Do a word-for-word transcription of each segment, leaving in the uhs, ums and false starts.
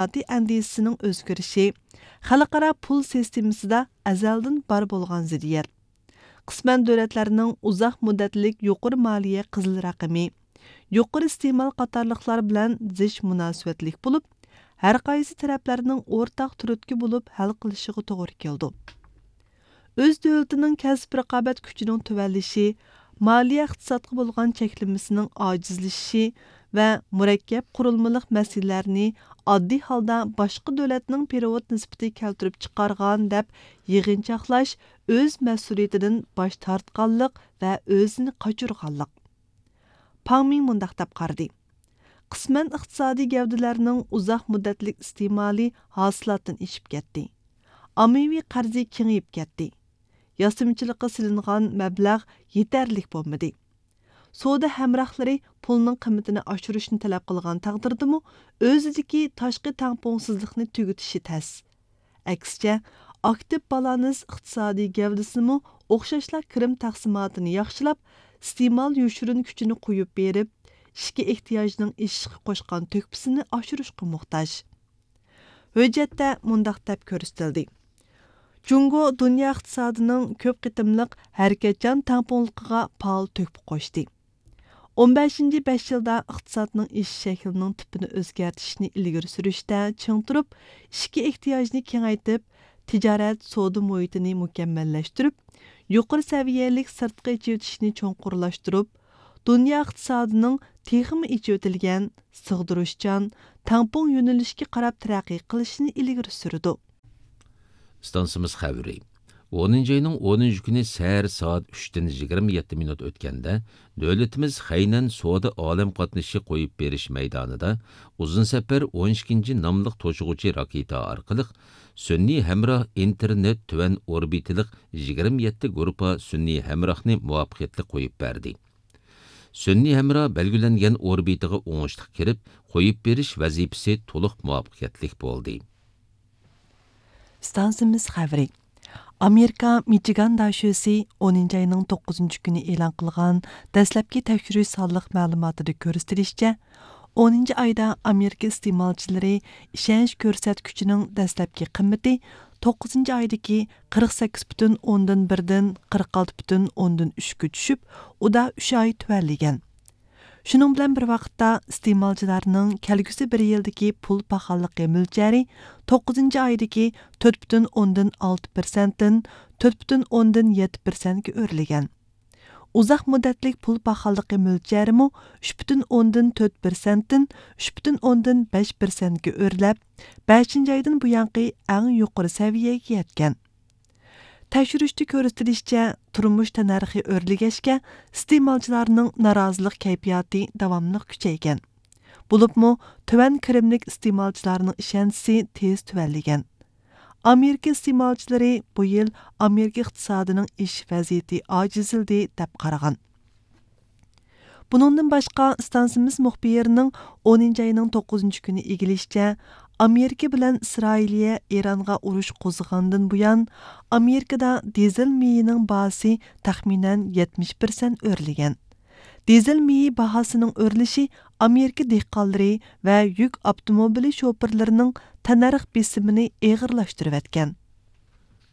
ئىقتىسادىي ئەندىزىسىنىڭ ئۆزگىرىشى، خەلقئارا پۇل سىستېمىسىدا ئەزەلدىن بار بولغان زىددىيەت، قىسمەن دۆلەتلەرنىڭ ئۇزاق مۇددەتلىك يۇقىرى مالىيە قىزىل رەقىمى، يۇقىرى ئىستېمال قاتارلىقلار بىلەن زىچ مۇناسىۋەتلىك بولۇپ، ھەرقايسى تەرەپلەرنىڭ ئورتاق تۈرتكە بولۇپ ھەل قىلىشىغا توغرا كېلىدۇ. ئۆز دۆلىتىنىڭ كەسىپ رىقابەت كۈچىنىڭ تۆۋەنلىشى، مالىيە ئىقتىسادقا بولغان چەكلىمىسىنىڭ ئاجىزلىشىشى ۋە مۇرەككەپ قۇرۇلمىلىق مەسىلىلەرنى ئاددىي ھالدا باشقا دۆلەتنىڭ پېرېۋوت نىسبىتى كەلتۈرۈپ چىقارغان دەپ يىغىنچاقلاش ئۆز مەسئۇلىيىتىدىن باش تارتقانلىق ۋە ئۆزىنى قاچۇرغانلىق. پاڭ مىڭ مۇنداق دەپ قارىدى: قىسمەن ئىقتىسادىي گەۋدىلەرنىڭ ئۇزاق مۇددەتلىك ئىستېمالى ھاسىلاتتىن ئېشىپ كەتتى. ئاممىۋى قەرزى كېڭىيىپ كەتتى. ياسىمىچىلىققا سېلىنغان مەبلەغ يېتەرلىك بولمىدى. سودا ھەمراھلىرى پۇلنىڭ قىممىتىنى ئاشۇرۇشنى تەلەپ قىلغان تەقدىردىمۇ، ئۆزىدىكى تاشقى تەڭپۇڭسىزلىقنى تۈگىتىشى تەس. ئەكسىچە، ئاكتىپ بالانس ئىقتىسادىي گەۋدىسىمۇ ئوخشاشلا كىرىم تەقسىماتىنى ياخشىلاپ، ئىستېمال يوشۇرۇن كۈچىنى قويۇپ بېرىپ، ئىچكى ئېھتىياجنىڭ ئېشىشقا قوشقان تۆھپىسىنى ئاشۇرۇشقا موھتاج. ھۆججەتتە مۇنداق دەپ كۆرسىتىلدى: جۇڭگو دۇنيا ئىقتىسادىنىڭ كۆپ قېتىملىق ھەرىكەتچان تەڭپۇڭلۇقىغا پائال تۆھپە قوشتى. ئون بەشىنچى بەش يىلدا ئىقتىسادنىڭ ئېشىش شەكلىنىڭ تىپىنى ئۆزگەرتىشنى ئىلگىرى سۈرۈشتە چىڭ تۇرۇپ، ئىچكى ئېھتىياجنى كېڭەيتىپ، تىجارەت، سودا مۇھىتىنى مۇكەممەللەشتۈرۈپ، يۇقىرى سەۋىيەلىك سىرتقى ئېچىۋېتىشنى چوڭقۇرلاشتۇرۇپ، دۇنيا ئىقتىسادىنىڭ تېخىمۇ ئېچىۋېتىلگەن، سىغدۇرۇشچان، تەڭپۇڭ يۆنىلىشكە قاراپ تەرەققىي قىلىشىنى ئىلگىرى سۈرىدۇ. ئىستانسىمىز خەۋىرى. ئونىنچى ئاينىڭ ئونىنچى كۈنى سەھەر سائەت ئۈچتىن يىگىرمە يەتتە مىنۇت ئۆتكەندە، دۆلىتىمىز خەينەن سودا ئالەم قاتنىشى قويۇپ بېرىش مەيدانىدا ئۇزۇن سەپەر ئون ئىككىنچى ناملىق توشۇغۇچى راكېتا ئارقىلىق سۈنئىي ھەمراھ ئىنتېرنېت تۆۋەن ئوربىتىلىق يىگىرمە يەتتە گۇرۇپپا سۈنئىي ھەمراھنى مۇۋەپپەقىيەتلىك قويۇپ بەردى. سۈنئىي ھەمراھ بەلگىلەنگەن ئوربىتىغا ئوڭۇشلۇق كىرىپ، قويۇپ بېرىش ۋەزىپىسى تولۇق مۇۋەپپەقىيەتلىك بولدى. ئىستانسىمىز خەۋىرى. ئامېرىكا مىچىگان داشۆسى ئونىنچى ئاينىڭ توققۇزىنچى كۈنى ئېلان قىلغان دەسلەپكى تەكشۈرۈش سانلىق مەلۇماتىدا كۆرسىتىلىشىچە، ئونىنچى ئايدا ئامېرىكا ئىستېمالچىلىرى ئىشەنچ كۆرسەتكۈچىنىڭ دەسلەپكى قىممىتى توققۇزىنچى ئايدىكى قىرىق سەككىز پۈتۈن ئوندىن بىردىن قىرىق ئالتە پۈتۈن ئوندىن ئۈچكە چۈشۈپ، ئۇدا ئۈچ ئاي تۆۋەنلىگەن. شۇنىڭ بىلەن بىر ۋاقىتتا، ئىستېمالچىلارنىڭ كەلگۈسى بىر يىلدىكى پۇل پاخاللىقى مۆلچەرى توققۇزىنچى ئايدىكى تۆت پۈتۈن ئوندىن ئالتە پىرسەنتتىن تۆت پۈتۈن ئوندىن يەتتە پىرسەنتكە ئۆرلىگەن. ئۇزاق مۇددەتلىك پۇل پاخاللىقى مۆلچەرىمۇ ئۈچ پۈتۈن ئوندىن تۆت پىرسەنتتىن ئۈچ پۈتۈن ئوندىن بەش پىرسەنتكە ئۆرلەپ، بەشىنچى ئايدىن بۇيانقى ئەڭ يۇقىرى سەۋىيەگە يەتكەن. تەكشۈرۈشتە كۆرسىتىلىشىچە، تۇرمۇش تەننەرخى ئۆرلىگەچكە، ئىستېمالچىلارنىڭ نارازىلىق كەيپىياتى داۋاملىق كۈچەيگەن. بولۇپمۇ، تۆۋەن كىرىملىك ئىستېمالچىلارنىڭ ئىشەنچىسى تېز تۆۋەنلىگەن. ئامېرىكا ئىستېمالچىلىرى بۇ يىل ئامېرىكا ئىقتىسادىنىڭ ئېشىش ۋەزىيىتى ئاجىزلىدى، دەپ قارىغان. بۇنىڭدىن باشقا، ئىستانسىمىز مۇخبىرىنىڭ ئونىنچى ئاينىڭ توققۇزىنچى كۈنى ئىگىلىشىچە، ئامېرىكا بىلەن ئىسرائىلىيە ئىرانغا ئۇرۇش قوزغىغاندىن بۇيان، ئامېرىكىدا دىزېل مېيىنىڭ باھاسى تەخمىنەن يەتمىش پىرسەنت ئۆرلىگەن. دىزېل مېيى باھاسىنىڭ ئۆرلىشى ئامېرىكا دېھقانلىرى ۋە يۈك ئاپتوموبىلى شوپۇرلىرىنىڭ تەننەرخ بېسىمىنى ئېغىرلاشتۇرۇۋەتكەن.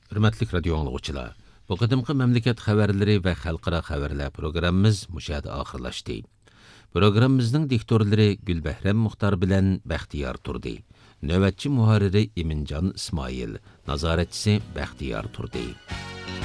ھۆرمەتلىك رادىيو ئاڭلىغۇچىلار، بۇ قېتىمقى مەملىكەت خەۋەرلىرى ۋە خەلقئارا خەۋەرلەر پروگراممىمىز مۇشۇ يەردە ئاخىرلاشتى. پروگراممىمىزنىڭ دىكتورلىرى گۈلبەھرەم مۇختار بىلەن بەختىيار تۇردى. نۆۋەتچى مۇھەررىرى ئىمىنجان ئىسمائىل، نازارەتچىسى بەختىيار تۇردى.